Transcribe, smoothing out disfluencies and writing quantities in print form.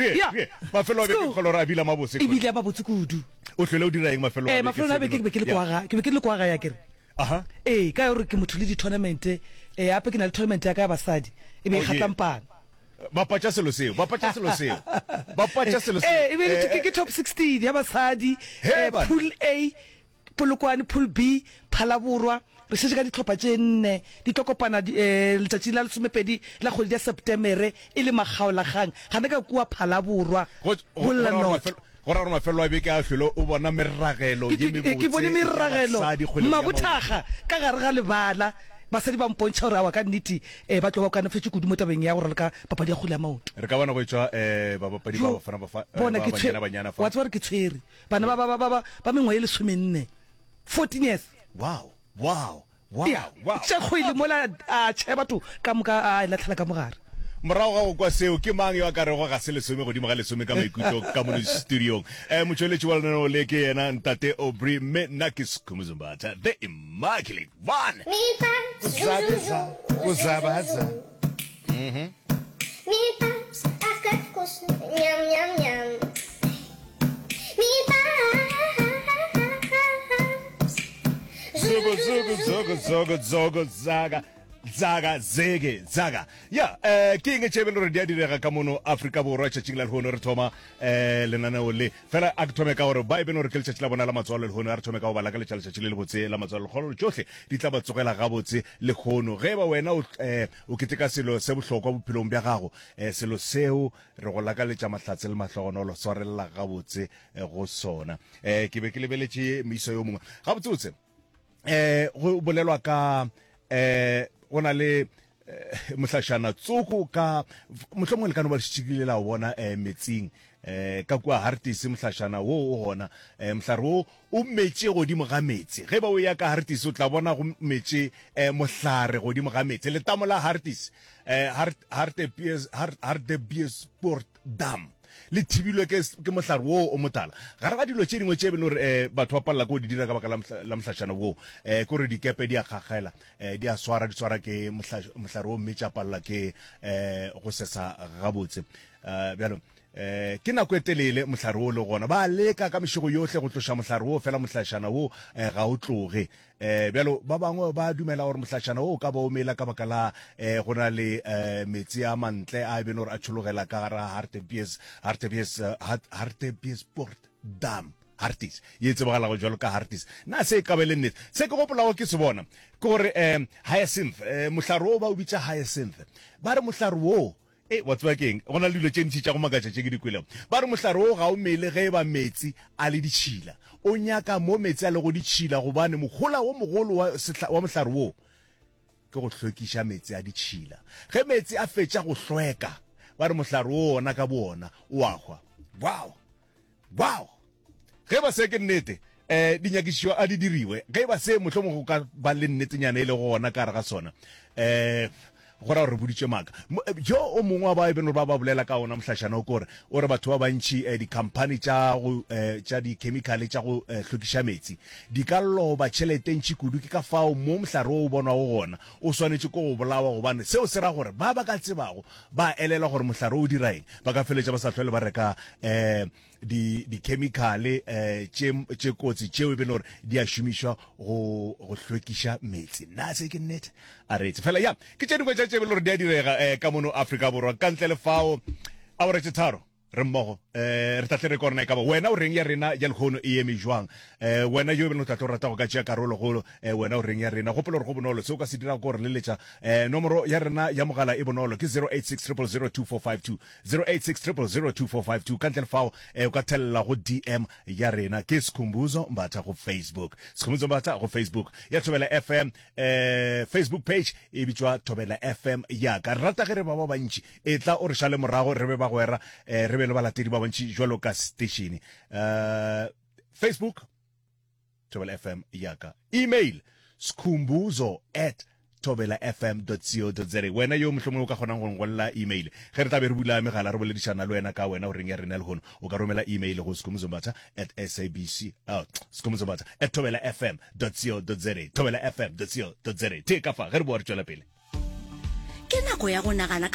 Re, Ya. re, mafelo a beke Sco. ke kgolwa gore a bile a mabose. E bile a mabotse kudu. O hlwele o dira eng mafelo a Eh, beke? mafelong a beke ke be ke le kwa ga, ke be ke le kwa gae akere. Aha. Ee, ka gore ke motho le di-tournament, eh, gape ke na le tournament ya ka ya basadi, e be e Oh, yeah. kgatlampana. Bapatša selo seo, bapatša selo seo, bapatša selo seo. Ee, e be e le Eh, ke, ke top 16 ya basadi, He, eh, bana. pool A, Polokwane, Pool B, Phalaborwa. Re šetše ka dihlopha tše nne di tlo kopana letšatšing la lesomepedi la kgwedi ya Sepetemere e le makgaolakgang gana ka kua Phalaborwa, Go, go, Bolla go ra gore North. mafelo, go ra gore mafelo a beke a hlwele o bona meragelo Ke, ye ke, ke bone mebotse ya meragelo, basadi kgweleng ya maoto. mabothakga ka gare ga lebala. Basadi ba mpontšha gore aowa ka nnete um ba tlo ba kanafetše kudu mo tabeng ya go raloka papadi ya kgwele ya maoto. Re ka bona go etšwa um babapadi ba Jo, Bafana Bafa, eh, bona ba ke tshwe, Banyana Banyana fa. wa tseba gore ke tshwere. Bana ba, ba, ba, ba, ba, ba mengwaga ye lesomenne, 14 years. Wow, wow, wow, Ya, wow. tša kgwele mola a tšhe batho ka moka a e latlhela ka mogare. Morago ga go kwa seo, ke mang yo a ka rego ga se lesome godimo ga lesome ka maikutlo ka mono studiong? Eh, motšweletši wa lenaneo le ke yena Ntate Aubrey, mme nna ke Skhumbuzo Mbatha, the immaculate one. Uzabiza, uzabaza. Zugu, zugu, zugu, zugu, zugu, zaga. Zaga, zege, zaga. Ya, eh, ke eng tše e bele gore di a direga ka mono Afrika Borwa tšatšing la lehono re thoma eh, lenaneo le. Fela a ke thome ka gore ba e bene gore ke letšatši la bona la matswalo lehono, a re thome ka go ba lakaletša letšatši le lebotse la matswalo. Lekgolo tšohle di tla ba tsogela gabotse lehono. Ge e ba wena o, eh, o keteka selo se bohlokwa bophelong bja gago, eh, selo seo re go lakaletša mahlatse le mahlogonolo, swarelela gabotse eh, go sona. Eh, ke be ke lebeletše moisa yo mongwe. Gabotsebotse, eh, go bolelwa ka eh, go na le eh, mohlašana tsoko ka mohlomongwe le ka no ba le šetše la o bona eh, metsing eh, ka kua Harties mohlašana wo o gona eh, mohlare wo o metše godimo ga meetse ge ba o ya ka Harties o tla bona go metše eh, mohlare godimo ga meetse letamo la Harties eh, Hart, Hartebees, Hart, Hartebeespoort Dam le thibilwe ke, ke mohlare woo o motala. Gare ga dilo tše dingwe tše e beno gore eh, batho ba palela ke go di dira ka baka la, la mohlašana woo eh, ke gore dikepe di a kgakgela eh, di a swara di swara ke mohlare wo mme tša palela ke eh, go sesa gabotse. Eh, bjalo eh, ke nako e telele mohlare wo le gona ba leka ka mešego yohle go tloša mohlare wo fela mohlašana wo eh, ga o tloge. Eh, bjalo ba bangwe ba dumela gore mohlašana wo o ka ba o mela ka baka la eh, go na le eh, meetse a mantle a e beno gore a tšhologela ka gara Hartebees, Hartebees, eh, Hartebeespoort Dam. Harties, ye e tsebagalago jwalo ka Harties. Na se e ka ba e le nnete? Se ke gopolago ke se bona ke gore um hyacinth, um mohlare wo ba o bitša hyacinth. Ba re mohlare wo E, wa tseba ke eng? Go na le dilo tše ntši tša go makatša tše ke di kwelego. Ba re mohlare wo ga o mele ge e ba meetse a le ditšhila. O nyaka mo meetse a lego ditšhila gobane mohola wo mogolo wa, sehla, wa mohlare wo ke go hlwekiša meetse a ditšhila. Ge meetse a fetša go hlweka, ba re mohlare wo wona ka bowona o a hwa. Wow! Wow! Ge e ba se ke nnete, eh, dinyakišišo a di diriwe. Ge e ba se mohlomongwe go ka ba le nnetenyana e lego gona ka gare ga sona, eh, go ra gore re boditšwe maaka. Eh, yo o mongwe wa ba e beno ba ba bolela ka ona mohlašana o kore o re batho ba bantši eh, dikhamphani tša go eh, tša dikhemikhale tša go eh, hlwekiša metsi di ka loba tšhelete ntši kudu. Ke ka fao mo mohlare wo o bonwago gona o swanetše ke go bolawa, gobane seo se ra gore ba ba ka tsebago ba elelwa gore mohlare o dira eng, ba ka feletša ba sa hlwele ba reka um di dikhemikhale um tše tše kotsi tšeo e be le gore di a šomišwa go go hlwekiša meetse. Na se ke nnete? A re etse fela ya ke tše dingwe tša tše e be le gore di a direga um ka mono Afrika Borwa. Ka ntle le fao, awara tše tharo re mmogo um re tla tle re kwa rena e ka ba wena o reng ya rena ya lehono e eme jwang um wena yo e beng o tla tlo rata go ka tšea karolo go um wena o reng ya rena gopola gore go bonolo se o ka se dirago ke gore leletša um nomoro ya rena ya mogala e bonolo ke 086 000 2452 086 000 2452 ka ntle le fao um o ka thelela go dm ya rena ke Skhumbuzo Mbatha go Facebook Skhumbuzo Mbatha go Facebook ya Thobela FM um Facebook page e bitšwa Thobela FM ya ka re rata ge re ba ba bantši Etla o re šale morago re be bagwera, eh, re be le balatedi ba bantši jwalo ka setešene. Eh, Facebook, Thobela FM ya ka. Email, skhumbuzo at thobelafm.co.za. Wena yo mohlomongwe o ka kgonang go ngwalela email ge re tla be re bula megala re boledišana le wena ka wena o reng ya rena lehono, o ka romela email go skhumbuzo at sabc oh, skhumbuzo at thobelafm.co.za thobelafm.co.za. Tee ka fa ge re boa re tšwela pele. Ke nako ya go nagana ka.